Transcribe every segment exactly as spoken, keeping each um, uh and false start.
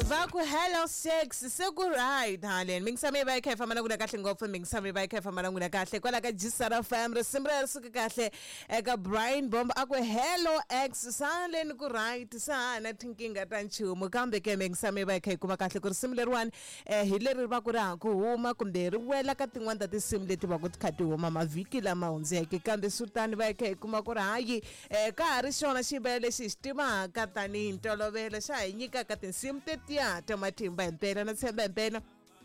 Va ku hello sex se ku right haleni mingisami va kha famba na ku kahle ngopfu mingisami va kha famba na n'wina kahle kwala ka Jisara F M risimu ri suka kahle eka Brian Bomb a ku hello ex saleni ku right sa na thinkinga ta nchumu kambe ke mingisami va kha yi kuma kahle ku risimu leriwani eh hi leri va ku ri ha ku huma kumbe ri wela ka tin'wana ta tinsimu leti va ku ti kha ti huma mavhiki lama hundzeke kambe swi va kha yi kuma ku ri hayi eh ka ha ri xona xiyimbelela lexi hi xi tivaka tanihi ntolovelo xa hi nyikaka tinsimu tetiya ta matimba himpela na tshemba himpela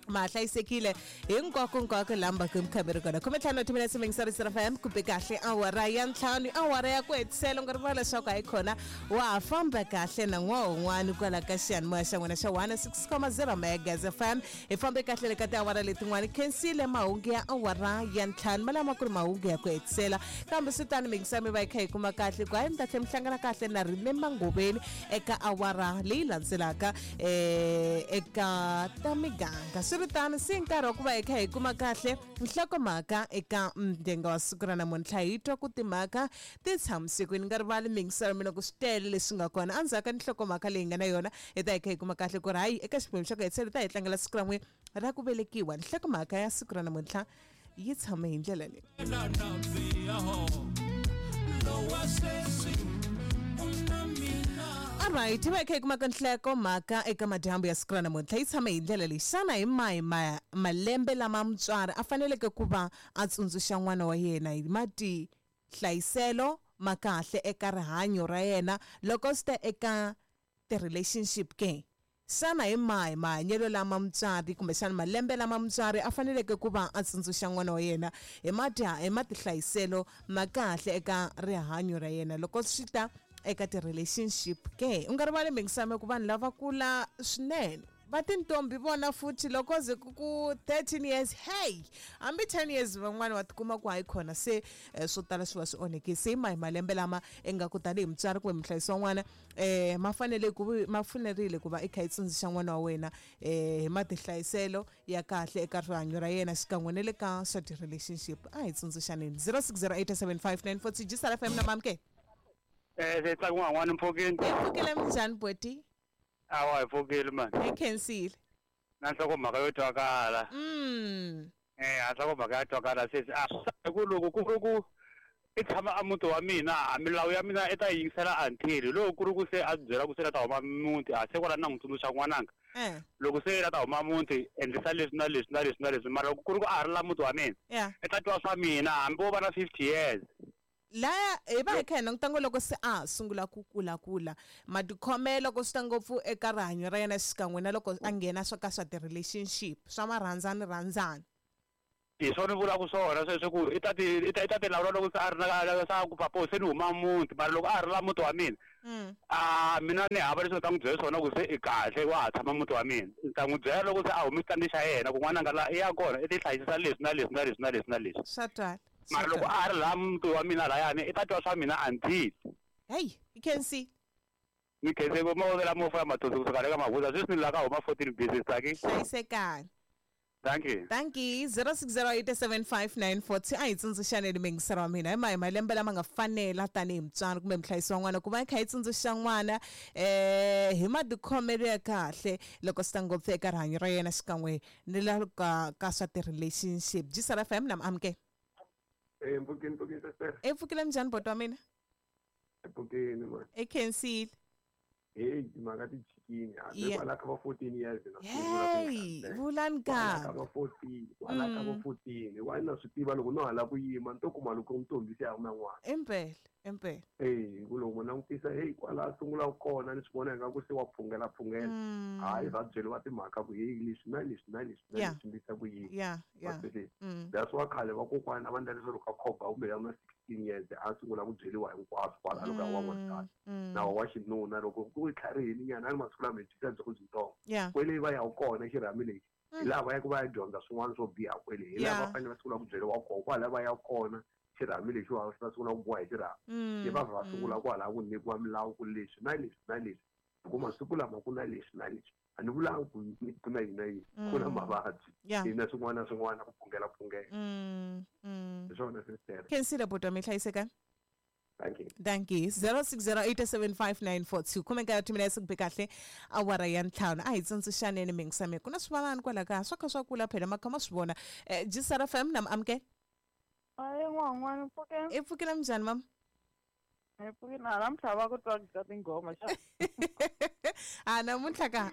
ma hlayisekile hinkwako nkwako lamba ku mukhameri kona khume ntlhanu timinetse mingisari F M kumbe kahle awara ya ntlhanu awara ya ku hetisela u nga rivala leswaku hayi khona wa ha famba kahle na n'wa un'wana kwala ka xiyanimoya xa n'wina xa one six point zero Megas F M hi fambe kahle le ka tiawara letin'wana khensile mahungu ya awara ya ntlhanu ma lama ku ri mahungu ya ku hetisela kambe swi tani mingisami va yi kha yi kuma kahle ku hayi mi ta tlhela mi hlangana kahle na Remember Ngobeni eka awara leyi landzelaka eh eka ta miganga swi tani si nkarhi wa ku va hi kha hi kuma kahle nhlokomhaka eka mdenga wa siku ra namuntlha hi twa ku timhaka ti tshamisekweni nga rivali mingiselo mina ku swi tele leswi nga kona endzhaku ka nhlokomhaka leyi nga na yona hi ta hi kha hi kuma kahle ku ri hayi eka xiphemu xa ku hetisela ta hi tlangela siku ra n'we ra ku velekiwa nhlokomhaka ya siku ra namuntlha yi tshame hi ndlela leyi. Alright, va kha hi kuma ka nhlokomhaka eka madyambu ya siku ra namuntlha yi tshame hi ndlela leyi xana hi mahi ma malembe lama mutswari a faneleke ku va a tsundzuxa n'wana wa yena hi matihlayiselo ma kahle eka rihanyo ra yena loko swi ta eka ti-relationship ke xana hi mahi mahanyelo lama mutswari kumbexana malembe lama mutswari a faneleke ku va a tsundzuxa n'wana wa yena hi mati hi matihlayiselo ma kahle eka rihanyo ra yena loko swi ta eka ti-relationship ke u nga rivali mingisame ku vanhu lava kula swinene va tintombi vona futhi loko ze ku ku thirteen years hey hambi ten years van'wana wa tikuma ku hayi khona se swo tala swi va swi onheke se mahi malembe lama ingaku tanihi mutswari kumbe muhlayisi wa n'wana eh ma fanele ku ma fanerile ku va i kha i tsundzuxa n'wana wa wena eh hi matihlayiselo ya kahle eka rihanyo ra yena xikan'we na le ka swa ti-relationship a hi tsundzuxaneni zero six zero eight seven five nine four two Jisara F M na mamke eh se tsaku n'wana mpfhukeni mpfhukile minjhani boti awa hi pfukile mani hi khensile na nhlokomhaka yo twakala mm eh a nhlokomhaka ya twakala sesi a ku loko ku ri ku i tshama a muti wa mina a milawu ya mina i ta yingisela until loko ku ri ku se a byela ku se la ta huma muti a se kwala na n'wi tsundzuxa n'wananga loko se la ta huma muti endlisa leswi na leswi na leswi na leswi mara loko ku ri ku a ha ri la muti wa mina i ta twa swa mina hambi wo va na fifty years laya hi va hi kha hi languta ngo loko se a sungula ku kula kula matikhomelo loko swi ta ngopfu eka rihanyo ra yena xikan'we na loko a nghena swa ka swa ti-relationship swa marhandzani rhandzani hi swona vulaka swona sweswo ku i ta ti i ta i ta ti lawula loko se a ri na sa ku papo se ni huma muti mara loko a ri la muti wa mina a mina ni hava leswi ni ta n'wi byela swona ku se i kahle wa ha tshama muti wa mina ni ta n'wi byela loko se a humi xitandi xa yena ku n'wananga la i ya kona i ti hlayisisa leswi na leswi na leswi na leswi na leswi swa twala mara loko a ri laha muti wa mina layani i ta twa swa mina until hey you can see ni khense ku mavovela mofo ya mathonsi kusuka le ka Mahuza sweswi ni la ka huma fourteen business taki hlayisekani. Thank you. Thank you. zero six zero eight seven five nine four two a hi tsundzuxaneni mingisero wa mina hi mahi malembe lama nga fanela tanihi mutswari kumbe muhlayisi wa n'wana ku va hi kha hi tsundzuxa n'wana eh hi matikhomelo ya kahle loko swi ta ngopfu eka rihanyo ra yena xikan'we ni la ka ka swa ti-relationship Jisara F M na amke Eh mpfukeni mpfukeni sister. E pfukile minjhani boti wa mina? Mpfukeni man. E khensile. Hey timhaka ti chikini hambi kwala ka va fourteen years na hey vulani ka ka va fourteen kwala ka va fourteen wa na swi tiva loko no hala ku yima ni to kuma loko ntombi se a wu na n'wana impela impela eh ku loko langutisa hey kwala sungula kona ni swi vona ingaku se wa phungela phungela hayi va byeriwa timhaka ku hey leswi na leswi na leswi na leswi ndisa ku yini yeah yeah that's why khale vakokwana va ndla leswaku ka khoba kumbe ya na sixteen years a sungula ku byeriwa hinkwaswo kwala loko a wa n'wansati na wa xinuna loko ku tlharihini nyana a ni masiku lama hi dyisa byi ku byitsongo kwele va ya kona xirhami lexi hi laha va ya ku va ya dyondza swin'wana swo biha kwele hi laha va fanele va sungula ku byeriwa kona kwala va ya kona xirhami lexi va va sungula ku boha hi xirhami se va va sungula kwalaho ku nyikiwa milawu ku leswi na leswi na leswi hikuva masiku lama ku na leswi na leswi a ni vulanga ku ku na yini na yini ku na mavabyi na swin'wana na swin'wana ku phungela phungela hi swona sister khensile buti wa mi hlayisekani. Thank you. Thank you. zero six zero eight seven five nine four two. Khume nkaye timinetse ku be kahle awara ya ntlhanu. A hi tsundzuxaneni mingisame. Ku na swivanani kwala kaya swa kha swa kula phela ma kha ma swi vona. Eh, G S R F M na amke. Ayi n'wan'wana mpfuke. I pfukile minjhani mama? Hi pfukile na namuntlha va ku twa ka tinghoma xa. A namuntlha ka.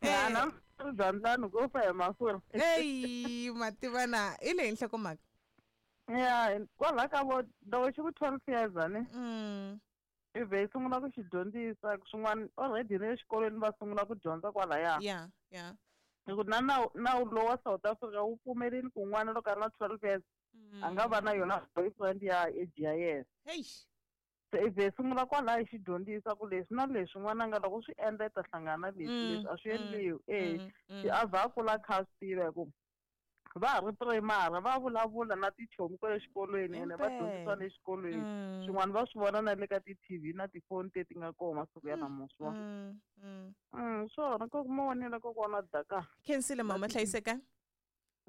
Ya namuntlha bya ndlani ko fa hi mafurha. Eyi mativana i leyi nhlokomhaka. Ya kwalaha ka vo loko xi ku twelve years ani. Mm. I vhe i sungula ku xi dyondzisa swin'wana already na le xikolweni va sungula ku dyondza kwalaya. Yeah, yeah. Hi ku na nawu nawu lowu wa South Africa wu pfumerile ku n'wana loko a ri na twelve years a nga va na yona boyfriend ya age ya yena. Hey. Se i vhe i sungula kwalaya i xi dyondzisa ku leswi na leswi n'wananga loko swi endla i ta hlangana na leswi Mm, leswi a swi mm, endliwi e Mm, se mm. a vha a kula a kha a swi tiva hi ku va ha ri primary va vulavula na tichomi kwale xikolweni ene va dyondzisiwa le xikolweni Mm. swin'wana va swi vona na le ka ti-T V na tifoni leti nga kona masiku ya namuntlha. Mm, mm. Mm, swona ko mavonelo kokwana daka. Khensile mama, hlayiseka.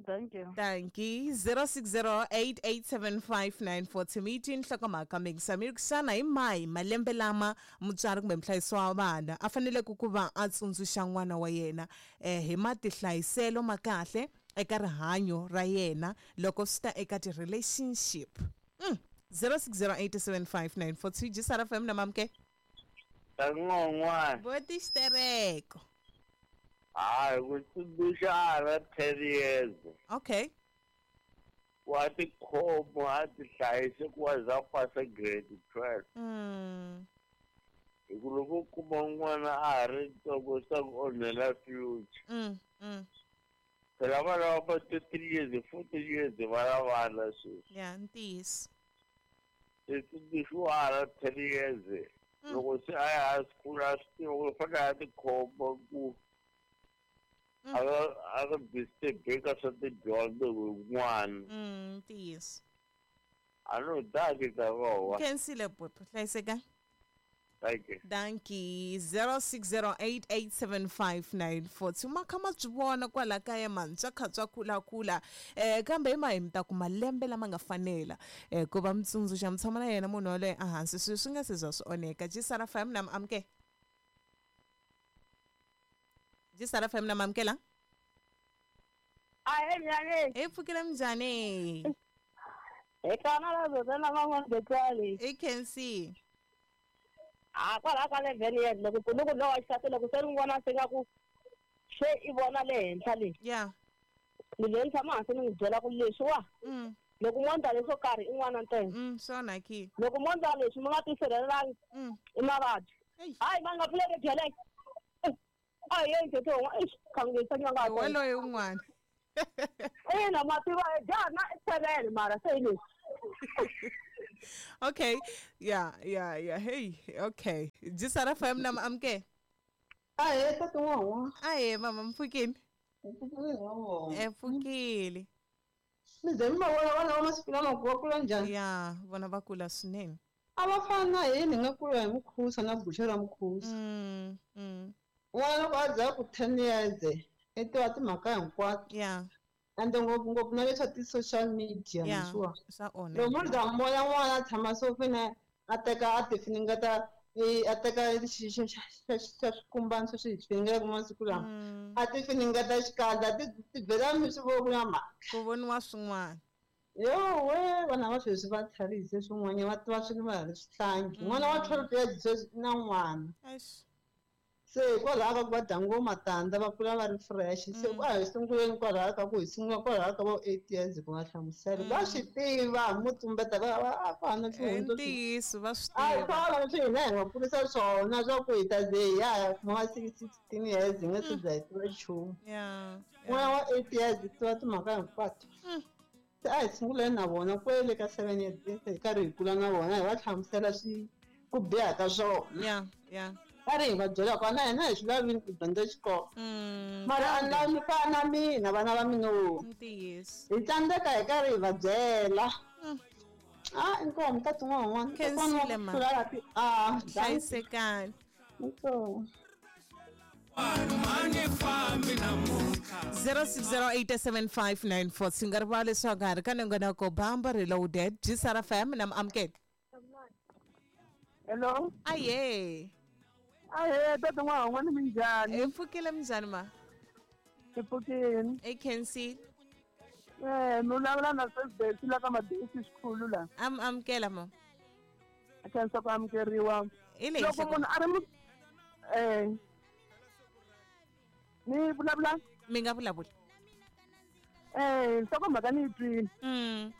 Thank you. Thank you. zero six zero eight eight seven five nine four two. Mi nhlokomhaka mingisami xana hi mahi malembe lama mutswari kumbe muhlayisi wa vana a faneleke ku va a tsundzuxa n'wana wa yena eh, hi matihlayiselo ma kahle eka rihanyo ra yena loko swi ta eka ti-relationship mm. zero six zero eight seven five nine four two. G S R F M na mamke. Tan'wan'wana. Boti xitereko. Hayi, ku tsundzuxa a ra ten years. Okay. Wa tikhoma, a ti hlayise ku wa za pasa grade twelve. mm. Hi ku loko u kuma n'wana a ha ri ntsongo swi ta ku onhela future. Mm. Mm. Phela vana va va two three years, fourteen years va na vana sweswi. Ya ntiyiso. Se tsundzuxiwa a ha ra ten years. Mm. Loko se a ya high school a swi tiva ku u fanele a tikhoma ku Mm. a nga a nga disturb-eka swa tidyondzo hi n'wana. Mm, ntiyiso. A no daki ta vowa. Khensile bhuti, hlayiseka. Thank you. Dankie. zero six zero eight eight seven five nine four two. Ma kha ma byi vona kwala kaya mani swa kha swa kulakula eh kambe hi mahi mi ta ku malembe lama nga fanela eh ku va mi tsundzuxa mi tshama na yena munhu yaloye ehansi swilo swi nga se za swi onheka. G S R F M na amke. G S R F M na mamkela. Ahe njhani? Hi pfukile, minjhani? Hi kona la zote na van'wana betsali. I Khensi. A kwalaha ka eleven years loko ku ni ku lowa xisati loko se ni vona se nga ku se i vona le henhla le. Ya. Ni le ni tshama hansi ni n'wi byela ku leswiwa mm loko mo ndla leswo karhi i n'wana ntsena. mm swona ki. Loko mo ndla leswi mi nga tisirhelelangi mm i mavabyi. Eish. Hayi ma nga pfuleki byeleke. A hi yeni tete eish khangisa nyanga. Hi waloye un'wana. Ina ma tiva jaha na seven mara se hi leswi. Okay, yeah yeah yeah hey, okay. G S R F M na amke. Ahee tata n'wan'wa. Ahe mama, mpfukini? Mpfukile. E pfukile. Mi ze mi va vona vana va masiku lama ku va kula njhani? Ya vona va kula swinene. A va fani na hina hi nga kula hi mukhusa na guxe ra mukhusa. mm mm N'wana loko a za ku ten years i tiva timhaka hinkwato. Ya. Ende ngopfungopfu na leswa ti-social media Ya, leswiwa. swa onha. Loko mo za mi vona n'wana a tshama sofeni a teka a ti finingeta i a teka xi xa xa xa xa swikumbani sweswi hi swi finingelaku masiku lama Mm. a ti finingeta xikandza ti ti byela mi swi vo ku na mhaka. Ku voniwa swin'wana. Yo we, vana va sweswi va tlharihise swin'wanyana, va tiva swilo va ha ri swihlangi. N'wana wa twelve years sweswi i na n'wana. Eish. Se hikwalaho ka ku va dya ngopfu matandza va kula va ri fresh. Se Mm. a hi sunguleni kwalaho ka ku hi sungula kwalaho ka vo eight years ku nga hlamusela va swi tiva hambi mo tumbeta va va a ku hava I swihundla swi ntiyiso va swi a hi tiva. swona leswi hina hi nga kurisa swona swa ku hi ta ze hi ya ya kuma sixteen years hi nga se za hi tiva nchumu. Ya. N'wana wa eight years i tiva timhaka hinkwato. Mm. Se a hi sunguleni na vona kwele ka seven years hi karhi hi kula na vona hi va hlamusela swi ku biha ka swona. Ya ya. Karhi hi va byela ku na hina hi swi lavini ku dyondza xikolo. Mm mara a ni lavi mi fana na mina vana va mina wo. Ntiyiso. Hi tsandzeka hi karhi hi va byela. Mm. A inkomu tata n'wan'wana. Khensile ma. A Hlayisekani. inkomu. zero six zero eight seven five nine four swi nga rivali leswaku ha ri ka nongonoko Bamba Reloaded G S R F M na amukela. Hello. Aye. Ahe, tata n'wana n'wana, minjhani? Hi pfukile, minjhani ma? Hi pfukile. I Khensi. Eh, mi vulavula na Sesbesi la ka Madesi xikhulu la. Am amukela ma. A khensa ku amukeriwa. Hi leyi. Loko munhu a ri mu eh ni vulavula? Mi nga vulavula. Eh, nhlokomhaka ni yi twile. Mm.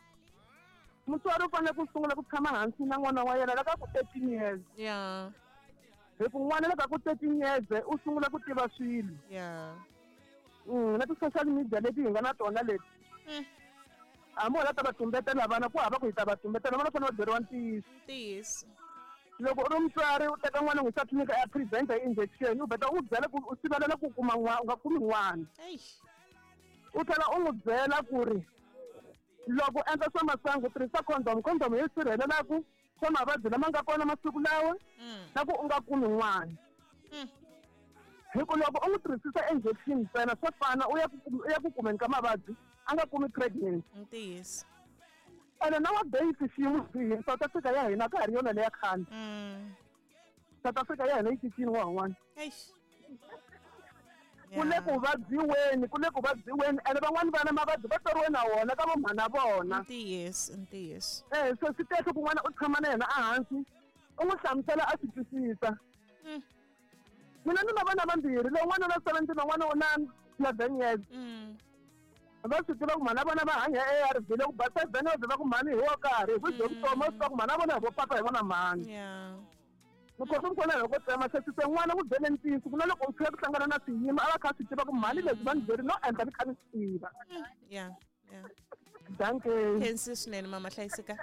Mutswari u fanele ku sungula ku tshama hansi na n'wana wa yena la ka ku thirteen years. Yeah. Hi ku n'wana la ka ku thirteen years u sungula ku tiva swilo. Yeah. Mm, na ti-social media leti hi nga na tona leti. Mm. Hambi wona ta va tumbetela vana, ku hava ku hi ta va tumbetela vana, fanele va byeriwa ntiyiso. Ntiyiso. Loko u ri mutswari u teka n'wana n'wi yisa tliliniki a ya prevent-a injection, u vheta u n'wi byela ku u sivelela ku kuma n'wana, u nga kumi n'wana. Eish. U tlhela u n'wi byela ku ri loko u endla swa masangu, tirhisa condom, condom yi sirhelelaku swa mavabyi lama nga kona masiku lawa Mm. na ku u nga kumi n'wana. Mm. Hi ku loko u n'wi tirhisisa injection ntsena, swa fana u ya ku u ya ku kumeni ka mavabyi, a nga kumi pregnancy. Ntiyiso. Ene nowadays xiyimo xi South Africa ya hina ka ha ri yona leya khale. Mm. South Africa ya hina yi cincile n'wana. Eish. Ku le ku vabyiweni, ku le ku vabyiweni, ene van'wani vana mavabyi va tswariwe na wona ka vomhana vona. Ntiyiso, ntiyiso. Eh, so swi kahle ku n'wana u tshama na yena ehansi, u n'wi hlamusela a swi twisisa. Mm. Mina ni na vana vambirhi, lowun'wana u na seventeen, lowun'wana u na eleven years. Mm. Va swi tiva ku mhana vona va hanya A R V, loko ba seven years va ku mhani hi wo karhi, hi ku bye vutomi, va swi tiva ku mhana vona hi vo papa, hi vona mhani. Yeah. Ni kota ku vona loko tsema se se n'wana ku byele ntiyiso ku na loko u fika ku hlangana na swiyimo, a va kha a swi tiva ku mhani leswi va ni byeri no endla ni kha ni swi tiva. Yeah. Yeah. Dankie. Khensi swinene mama, hlayiseka.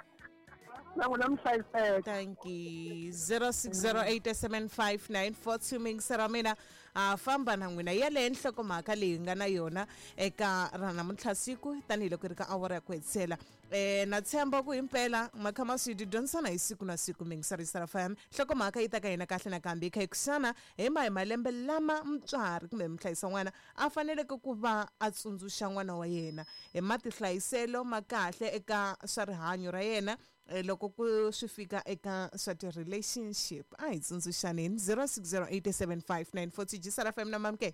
Na n'wina mi hlayiseka. Thank you. zero six zero eight seven five nine four two mingisera mina a famba na n'wina yaleyo nhlokomhaka leyi nga na yona eka ra namuntlha siku, tanihiloko ri ka awara ya ku hetisela. um na tshemba ku himpela makha ma swi dyondzisana hi siku na siku. Mingisera F M, nhlokomhaka yi ta ka hina kahle nakambe yi kha yi kuxana hi ma hi malembe lama mutswari kumbe muhlayisa n'wana a faneleke ku va a tsundzuxa n'wana wa yena hi matihlayiselo ma kahle eka swa rihanyo ra yena, eh, loko ku swi fika eka swa ti-relationship. A hi tsundzuxaneni zero six zero eight seven five nine four two. G S R F M na mamke.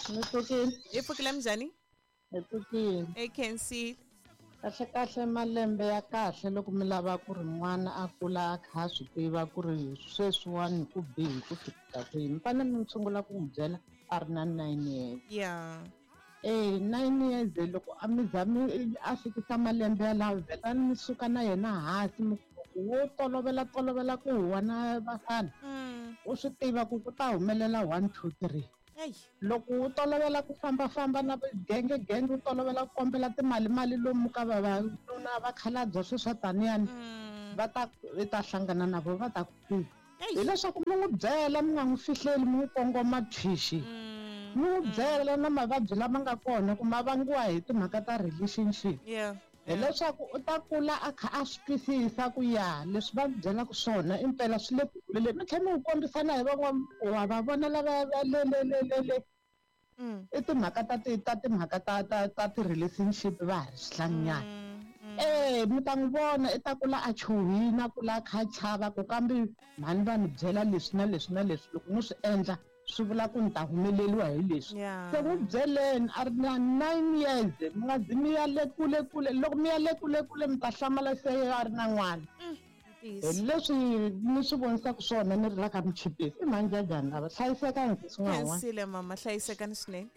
Ni pfukile. Hi pfukile, minjhani? Hi pfukile. A K N C. Kahle kahle, malembe ya kahle loko mi lava ku ri n'wana a kula a kha a swi tiva ku ri sweswiwani ku bihi ku fika kwihi, mi fanele mi sungula ku n'wi byela a ri na nine years. Yeah Eh, nine years, loko a mi za mi a fikisa malembe yalawo, vhetani mi suka na yena hansi, mi ku wo tolovela tolovela ku huwa na vafana, mm. u swi tiva ku ku ta humelela one two three. Eyi. Loko u tolovela ku fambafamba na genge genge, u tolovela ku kombela timali mali lomu ka vavanuna, vakhalabya, sweswi swa taniyani, mm. va ta i ta hlangana na vo, va ta ku Eyi. Hileswaku mi n'wi byela, mi nga n'wi fihleli, mi n'wi kongoma thwixi, Mm. mi n'wi byela na mavabyi lama nga kona ku ma vangiwa hi timhaka ta relationship, yeah hileswaku u ta kula a kha a swi twisisa ku ya leswi va byelaka swona impela swi le ku kuleleni. Mi tlhela mi n'wi kombisana hi van'wana, wa va vona lava va le le le le le Mm. i timhaka ta ti ta timhaka ta ta ta ti-relationship va ha ri swihlanyana. Mm. Mm. Eh, mi ta n'wi vona i ta kula a chuhile, a kula a kha a chava ku kambe mhani va ni byela leswi na leswi na leswi, loko no swi endla swi vula ku ni ta humeleriwa hi leswi. Yeah se n'wi byeleni a ri na nine years, mi nga zi mi ya le kule kule. Loko mi ya le kule kule, mi ta hlamala se a ri na n'wana. Hi Ntiyiso. leswi ni swi vonisaka swona, ni ri la ka Michipisi i mhani Jajani lava hlayisekani swin'wana. Khensile mama, hlayisekani swinene.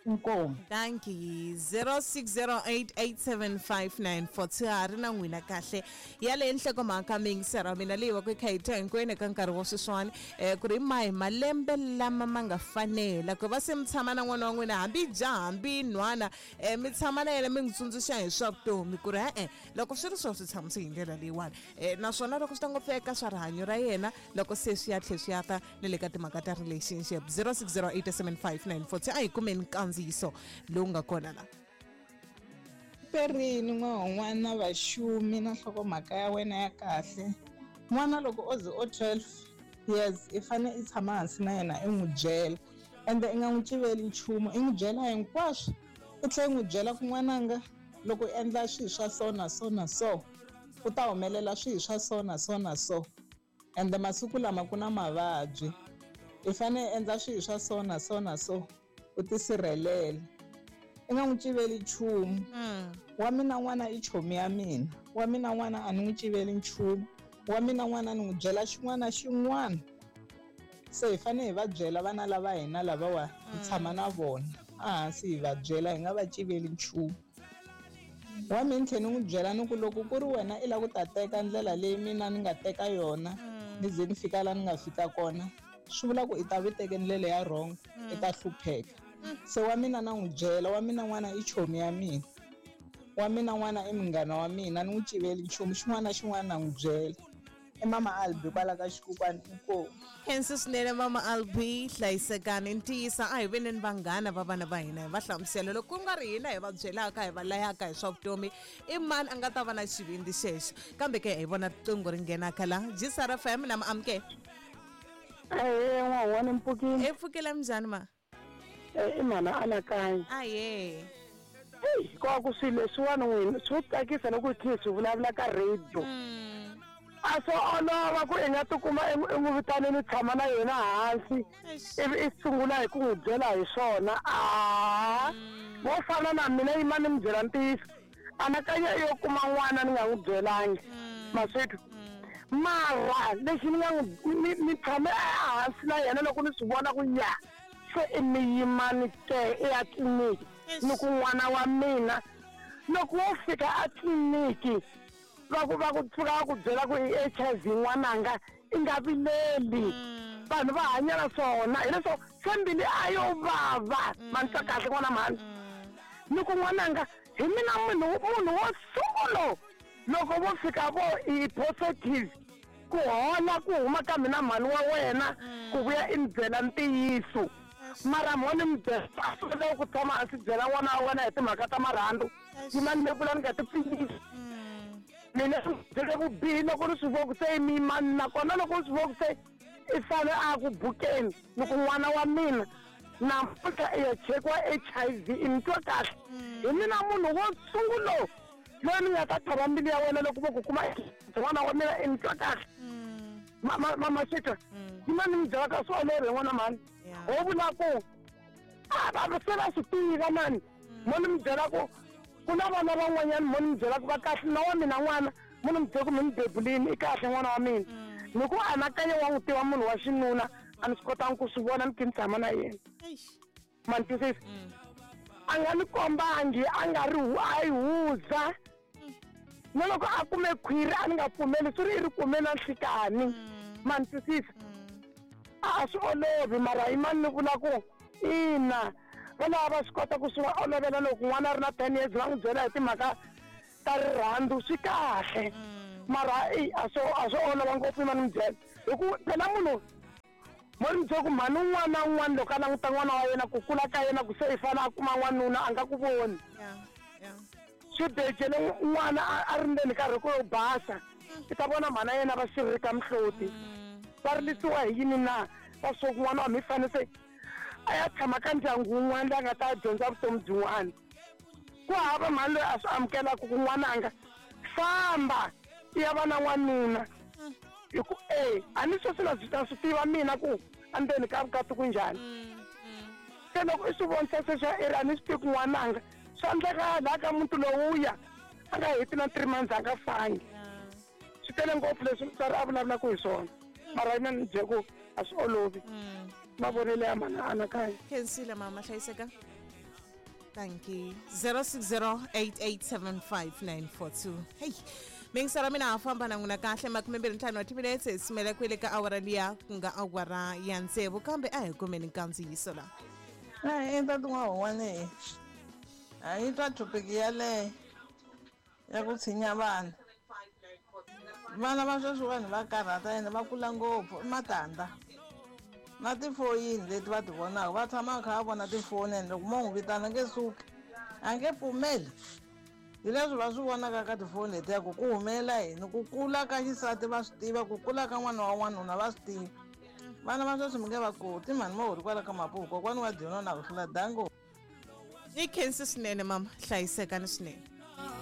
Inkomu. Thank you. zero six zero eight eight seven five nine four two ha ri na n'wina kahle yaleyo nhlokomhaka mingisera mina leyi va ku yi kha yi twa hinkwenu eka nkarhi wa sweswiwani, um ku ri mahi malembe lama ma nga fanela ku va se mi tshama na n'wana wa n'wina, hambi jaha hambi nhwana, um mi tshama na yena mi n'wi tsundzuxa hi swa vutomi ku ri e-e loko swi ri swo swi tshamise hi ndlela leyiwani, um naswona loko swi ta ngopfu eka swa rihanyo ra yena, loko se swi ya tlhe swi ya ta ni le ka timhaka ta relationship. zero six zero eight seven five nine four two. A hi kumeni nkandziyiso lowu nga kona la. Perini n'wana na vaxumi na nhlokomhaka ya wena ya kahle. N'wana loko o ze o twelve years, i fane i tshama hansi na yena i n'wi byela. Ende i nga n'wi civeli nchumu, i n'wi byela hinkwaswo. I tlhela i n'wi byela ku n'wananga loko u endla swilo swa so na so na so, ku ta humelela swilo swa so na so na so. Ende masiku lama ku na mavabyi, i fanele i endla swilo swa so na so na so, u tisirhelela. I nga n'wi civeli nchumu. Wa mina n'wana i chomi ya mina, wa mina n'wana a ni n'wi civeli nchumu, wa mina n'wana ni n'wi byela xin'wana na xin'wana. Se hi fanele hi va byela vana lava hina lavawa hi tshama na vona ehansi, hi va byela, hi nga va civeli nchumu. Wa mina ni tlhela ni n'wi byela ni ku loko ku ri wena i lava ku ta teka ndlela leyi mina ni nga teka yona, ni ze ni fika laha ni nga fika kona, swi vula ku i ta vi teke ndlela ya wrong, i ta hlupheka. Se wa mina na n'wi byela, wa mina n'wana i chomi ya mina, wa mina n'wana i munghana wa mina, ni n'wi civeli nchumu, xin'wana na xin'wana na n'wi byela. I Mama Albi kwala ka Xikukwani, inkomu. Khensa swinene Mama Albi, hlayisekani. Ntiyisa a hi veneni vanghana va vana va hina, hi va hlamusela loko ku nga ri hina hi va byelaka, hi va layaka hi swa vutomi, i mani a nga ta va na xivindzi xexo. Kambe ke hi vona riqingho ri nghenaka la G S R F M na Maamke. Ahee, n'wahwana mpfukile. E pfukela minjhani ma? I mhana Anakanya. Ahee. Eyi, hikuva ku swilo leswiwani n'wina swo tsakisa loko hi kha hi swi vulavula ka radio. A swo olova ku i nga tikuma i n'wi vitanini u tshama na yena hansi, ivi i sungula hi ku n'wi byela hi swona. A vo fana na mina yima ni mi byela ntiyiso, anakanya yo kuma n'wana ni nga n'wi byelangi maswethu. Mara lexi ni nga n'wi ni ni tshame ehansi na yena loko ni swi vona ku ya se i mi yimani ke i ya tliliniki, ni ku n'wana wa mina loko wo fika a tliliniki va ku va ku pfuka va ku byela ku i H I V n'wananga, i nga vileli. Vanhu va hanya na swona, hileswo se mbilu a yo vava. Ma ni twa kahle n'wana mhani? Ni ku n'wananga hi mina munhu munhu wo sungula loko vo fika vo i positive, ku hola ku huma ka mina mhani wa wena ku vuya i ni byela ntiyiso. Mara mo ni mi byela a swi kota ku tshama hansi byela n'wana wa wena hi timhaka ta marhandzu, yima ni vula ni nga ti pfilisi. Mina byele vubihi loko ni swi vona ku se i miyimani, nakona loko ni swi vona ku se i fane a ku bukeni, ni ku n'wana wa mina namuntlha i ya chekiwa H I V, i ni twa kahle? Hi mina munhu wo sungula loyi ni nga ta tlhava mbilu ya wena loko vo ku kuma n'wana wa mina, i ni twa kahle? Mama Sitwa, yima ni mi byela ka swi olovi hi n'wana mhani. Ho vula ku a va se va swi tiva mani, mo ni mi byela ku ku na vana van'wanyana mo ni mi byela ku va kahle, na wa mina n'wana mo ni mi byela ku mi ni bebulini i kahle n'wana wa mina. Ni ku anakanya wa n'wi tiva munhu wa xinuna, a ni swi kotangi ku swi vona ni khe ni tshama na yena. Ma ni twisisa? A nga ni kombangi, a nga ri a yi huza. Na loko a kume khwiri a ni nga pfumeli, swi ri i ri kume na nhlikani. Ma ni twisisa? A swi olovi, mara i mani ni vula ku ina va lava va swi kota ku swi va olovela loko n'wana a ri na ten years va n'wi byela hi timhaka ta rirhandzu, swi kahle. Mara eyi a swo a swo olova ngopfu yima ni mi byela, hi ku phela munhu mo ni byela ku mhani un'wana na un'wana loko a languta n'wana wa yena ku kula ka yena ku se i fane a kuma n'wanuna a nga ku voni. Swi becele n'wana a ri ndzeni ka rhoko yo basa, i ta vona mhana yena va xiririka mihloti, va rilisiwa hi yini na? Va swo ku n'wana wa mi fane se a ya tshama ka ndyangu wun'wana loyi a nga ta dyondza vutomi byin'wana. Ku hava mhani loyi a swi amukelaka ku n'wananga famba i ya va na n'wanuna, hi ku e a ni sweswi na swi na swi tiva mina ku endzeni ka vukati ku njhani. Se loko i swi vonisa sweswo i ri a ni swi tivi ku n'wananga swi endleka laha ka muti lowuya a nga heti na three months a nga fangi. Swi tele ngopfu leswi mutswari a vulavulaka hi swona, mara yina ni byela ku a swi olovi. Mavonelo ya mhana Anakanya. Khensile mama, hlayiseka. Thank you. zero six zero eight eight seven five nine four two. Hey, mingisara mina ha famba na n'wina kahle makume mbirhi ntlhanu wa timinetse hi simela kwele ka awara liya ku nga awara ya tsevu, kambe a hi kumeni nkandziyiso la. A i tati n'wahon'wana a yi twa thopiki yaleyo ya ku tshinya vana. Vana va sweswi vanhu va karhata ene va kula ngopfu, i matandza. Na tifoyini leti va ti vonaka, va tshama va kha va vona tifoni, ene loko mo n'wi vitana a nge suki, a nge pfumeli. Hi leswi va swi vonaka ka tifoni letiya ku ku humelela yini, ku kula ka xisati va swi tiva, ku kula ka n'wana wa n'wanuna va swi tiva. Vana va sweswi mi nge va koti mhani mo hori kwala ka mapuku, kokwani wa dyona na ku hlula dango. Ni khensi swinene mama, hlayisekani swinene.